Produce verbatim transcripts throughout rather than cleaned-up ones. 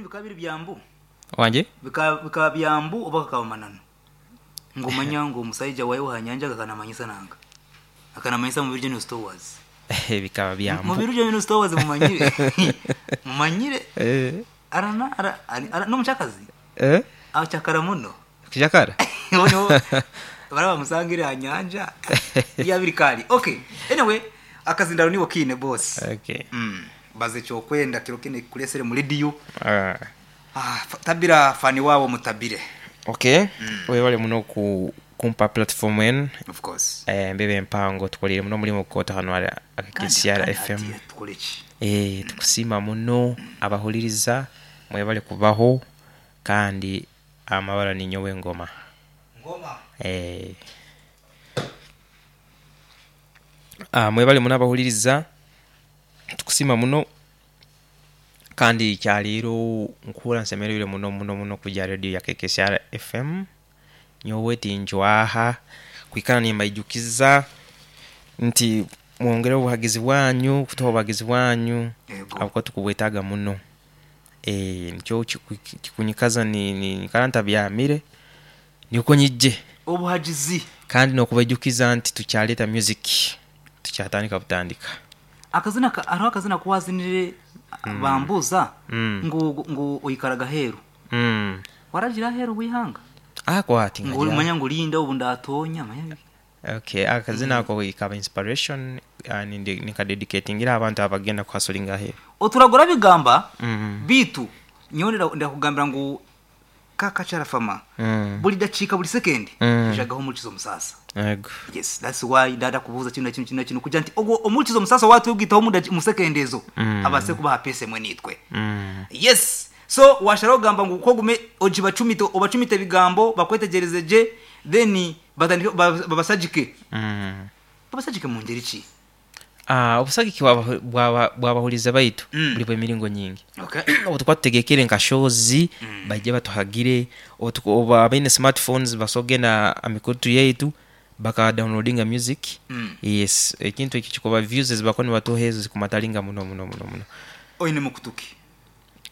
Ebintu bikaba biri byambu Wanje? Bikaba bikaba byambu oba kakaba mananu ngumanya ngu omusaija wawe hanyanja akanamanyisa nanga akanamanyisa mu Virgin Stores. Bikaba byambu. Mu Virgin Stores mumanyire mumanyire Eh. arana ara, ara n'omuchakazi Eh? achakara muno. Kuchakara? Ono baraba musangire hanyanja ya birikali. Okay, anyway, akazindaro niwo kine boss. Okay. Mm. Baze kyokwenda kiro kine kulesere mu radio. Ah. Ah, tabira fani wabo mutabire. Okay. Webale muno ku kumpa platform enu. Of course. Eh, mbebe mpango tukolere muno mulimu kukota hano ari K C R F M. Tukoleki. Eh, tukusima muno abahuliriza mwebale kubaho kandi amabara ni nyowe ngoma. Ngoma. Eh. Ah, mwebale muno abahuliriza tukusima muno kandi kyaliro nkura nsemerere muno muno muno kuja radio ya K C R F M. Nyowe tinjwaha kwikana nimbaijukiza nti mwongere obuhagizi bwanyu kutuha obuhagizi bwanyu abuko tukubwetaaga muno. Eh, nikyo kikunyikaza ni ni karanta byamire niko nyijje obuhagizi kandi nokubaijukiza nti tukyaleta music tukyatandika butandika. Akazina ariho akazina kuwazinire mm. bambuza mm. ngu ngu oyikaraga heru mm. waragira heru wihanga ako ati ngo manya ngo linda ubu ndatonya manya. Okay, akazina ako mm. ikaba inspiration uh, nika dedicatingira abantu abagenda kuhasulinga heru oturagora bigamba mm. bitu nyonera ndakugambira ngo kakachara fama mm. buli dachika buli second mm. jagaho mulikizo musasa. Yego. Yes, that's why ndada kubuza kino kino kino kino kuja nti ogwo omulikizo musasa watu ugitaho mu second ezo mm. abase kubaha pese mwe nitwe. Mm. Yes, so washara ogamba ngo kogume ogibacumite obacumite bigambo bakwetegereze je then batandike babasajike. Mm. Babasajike mu ngeri ki? Ah, obusagiki bwabahuliza baitu mm. buli bw'emiringo nyingi. Okay. Obu tukwategekere nka shows mm. bajje batuhagire obu abaine smartphones basogenda amikutu yaitu baka downloadinga music. Mm. Yes, ekintu eki kikuba views bakoni batuhezo zikumatalinga muno muno muno muno. Oine mukutuki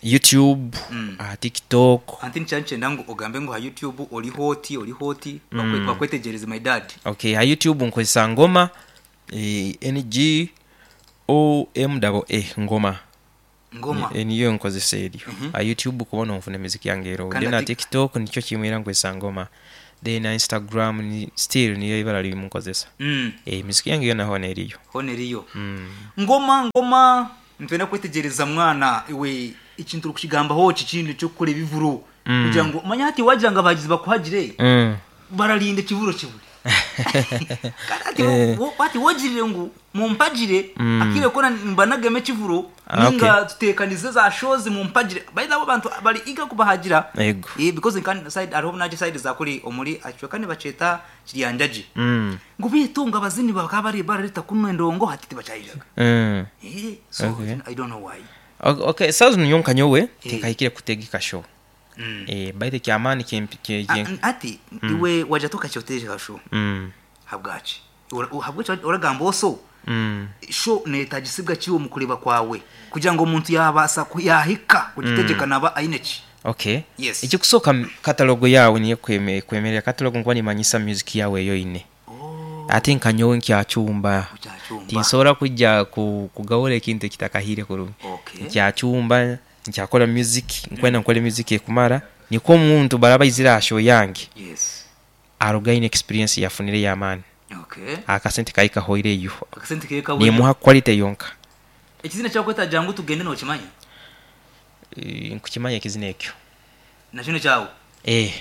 YouTube, mm. uh, TikTok. Anti nchanche ndangu ogambe ngo ha YouTube oli hoti oli hoti mm. bakwetegereze my dad. Okay, ha YouTube nkozesa ngoma e, N G O M A A ngoma. Ngoma. E, niyo nkozesa eryo. Mm -hmm. Ha YouTube kubona nfuna muziki yange ero. Kandi Then na TikTok nikyo kimwira nkozesa ngoma. Then na Instagram ni still niyo ibara liri munkozesa. Mm. Eh, muziki yange yona hone eriyo. Hone eriyo. Mm. Ngoma ngoma ntwenda kwetegereza mwana iwe ikintu rukigamba ho kikindi cyo kukora ibivuro mm. kugira ngo manya hati wagira ngo abagizi bakuhagire mm. bararinde kivuro kibure. Ati wati wogirire ngo mumpagire mm. akire kona mbanageme kivuro Ah, okay. ninga tutekanize za shows mumpagire by the way abantu bari iga kubahagira. Yego. Eh, because in kan side ariho naje side za kuri omuri achwe kane baceta kiryanjaji Mm. ngo bitunga abazini bakaba bari barareta kuno ndongo hatiti bachayijaga. Mm. Eh, so Okay. I don't know why. Okay, okay. Sazo nyonka nyowe tinkahikire kutegeka show. Mm. Eh, baite kyamani kim ki Ah, ati iwe waja tukacyoteje kasho Mm. habwachi habwachi oragamba oso Mm. sho netagisibwa kiwo mu kureba kwawe kugira ngo umuntu yabasa yahika kugitegeka naba aineki. Okay. Yes. Ekikusoka catalogo yawe niyo kweme kwemerera catalogo nkuba nimanyisa music yawe eyo ine. Oh. Ate nkanyowe nkyachumba. Ukyachumba. Tinsobola kujja ku kugawula ekintu ekitakahire kurungi. Okay. Nkyachumba nkyakora music nkwenda nkore music ekumara niko omuntu baraba izira show yange. Yes. Arugaine experience yafunire yamani. Okay. Akasente kaika hoireyo. Akasente keka Nimuha quality yonka. Ekizina kyakweta jangu tugende no kimanya. E, nkukimanya ekizina ekyo. Na kino kyawo. Eh.